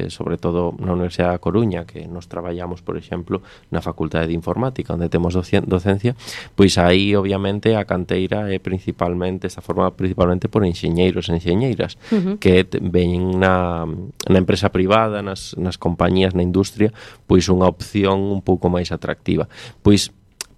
sobre todo na Universidade da Coruña, que nos traballamos, por exemplo, na Facultade de Informática, onde temos docencia, pois aí, obviamente, a canteira é principalmente, está formada principalmente por enxeñeiros e enxeñeiras, que ven na empresa privada, nas compañías, na industria, pois unha opción un pouco máis atractiva. Pois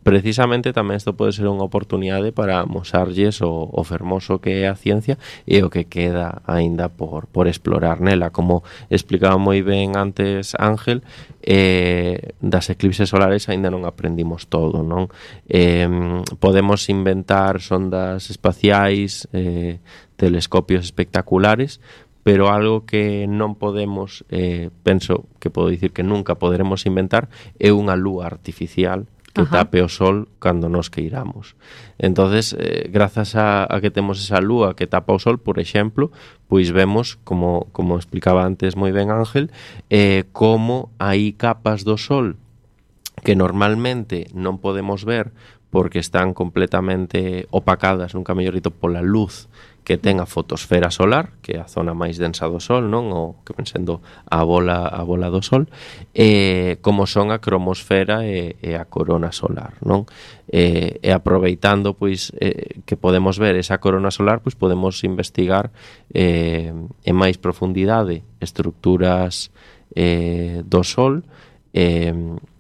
precisamente tamén isto pode ser unha oportunidade para mosarlles o fermoso que é a ciencia e o que queda aínda por explorar nela. Como explicaba moi ben antes Ángel, das eclipses solares aínda non aprendimos todo, non? Podemos inventar sondas espaciais, telescopios espectaculares, pero algo que non podemos, penso que podo dicir que nunca poderemos inventar, é unha lúa artificial que tape o sol cando nos queiramos. Entonces, grazas a que temos esa lúa que tapa o sol, por exemplo, pois vemos, como explicaba antes moi ben Ángel, como hai capas do sol que normalmente non podemos ver porque están completamente opacadas, nunca mellor dito, pola luz que ten a fotosfera solar, que é a zona máis densa do Sol, non? O que ven sendo a bola do Sol, como son a cromosfera e a corona solar, non? E aproveitando, pois, que podemos ver esa corona solar, pois podemos investigar en máis profundidade estructuras do Sol,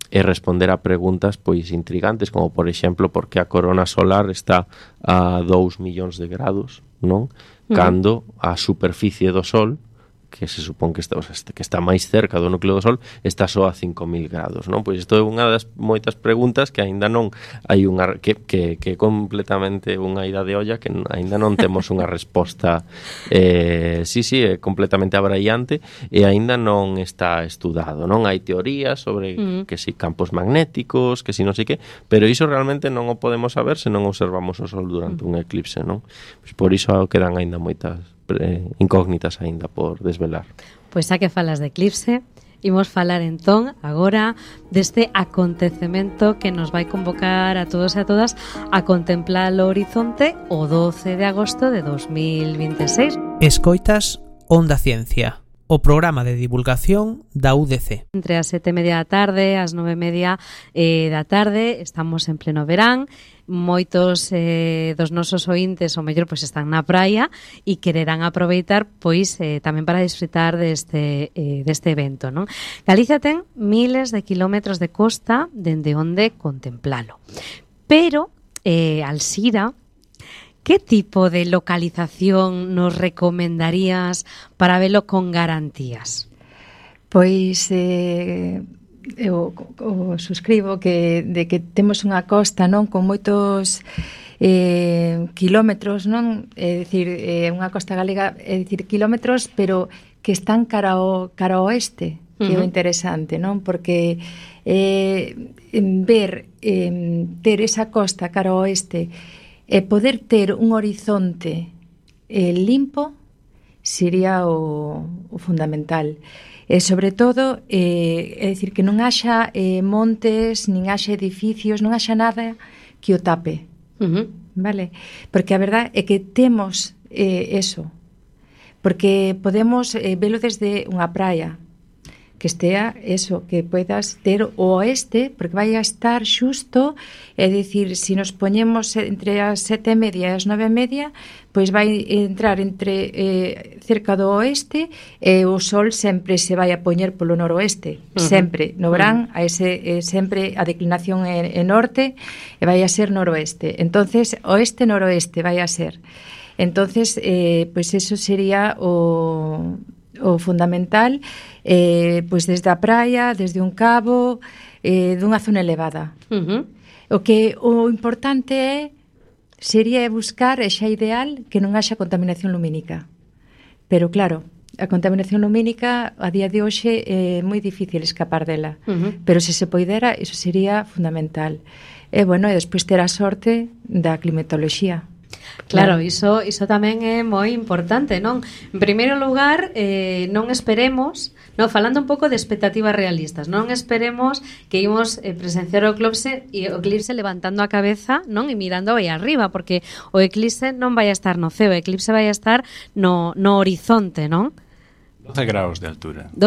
e responder a preguntas pois intrigantes, como por exemplo por que a corona solar está a 2 millóns de grados, non? Cando a superficie do Sol, que se supón que está máis cerca do núcleo do Sol, está só a 5.000 grados, non? Pois isto é unha das moitas preguntas que aínda non hai unha que é completamente unha ida de olla, que aínda non temos unha resposta é completamente abraiante e aínda non está estudado, non? Hai teorías sobre que si campos magnéticos, que si non sei que, pero iso realmente non o podemos saber se non observamos o Sol durante un eclipse, non? Pois por iso quedan aínda moitas incógnitas aínda por desvelar. Pois xa que falas de eclipse, imos falar entón agora deste acontecemento que nos vai convocar a todos e a todas a contemplar o horizonte o 12 de agosto de 2026. Escoitas Onda Ciencia, o programa de divulgación da UDC. Entre as 7:30 da tarde, as 9:30 da tarde, estamos en pleno verán. Moitos dos nosos ointes o mellor pois están na praia e quererán aproveitar pois tamén para disfrutar deste evento, non? Galicia ten miles de kilómetros de costa dende onde contemplalo. Pero Alzira, que tipo de localización nos recomendarías para velo con garantías? Pois eu suscribo que temos unha costa, non, con moitos kilómetros, non? É dicir, unha costa galega, é dicir, kilómetros, pero que están cara ao oeste, que é o interesante, non? Porque ter esa costa cara ao oeste e poder ter un horizonte limpo sería o fundamental. E sobre todo, é dicir, que non haxa montes, nin haxa edificios, non haxa nada que o tape, vale? Porque a verdade é que temos eso, porque podemos velo desde unha praia, que estea eso, que podas ter o oeste, porque vai a estar xusto, é dicir, se nos poñemos entre as 7:30 e as 9:30, pois vai entrar entre cerca do oeste e o sol sempre se vai a poñer polo noroeste, sempre, no verán, a ese sempre a declinación é norte e vai a ser noroeste. Entonces, oeste-noroeste vai a ser. Entonces, pois eso sería o fundamental, pois desde a praia, desde un cabo, dunha zona elevada. O importante sería buscar, e xa ideal, que non haxa contaminación lumínica. Pero claro, a contaminación lumínica a día de hoxe é moi difícil escapar dela. Pero se se poidera, iso sería fundamental. E bueno, e despois ter a sorte da climatoloxía. Claro, iso tamén é moi importante, non? En primeiro lugar, non esperemos, non, falando un pouco de expectativas realistas, non esperemos que imos presenciar o eclipse levantando a cabeza, non, e mirando aí arriba, porque o eclipse non vai a estar no ceo, o eclipse vai a estar no horizonte, non? 12 graus de altura. 12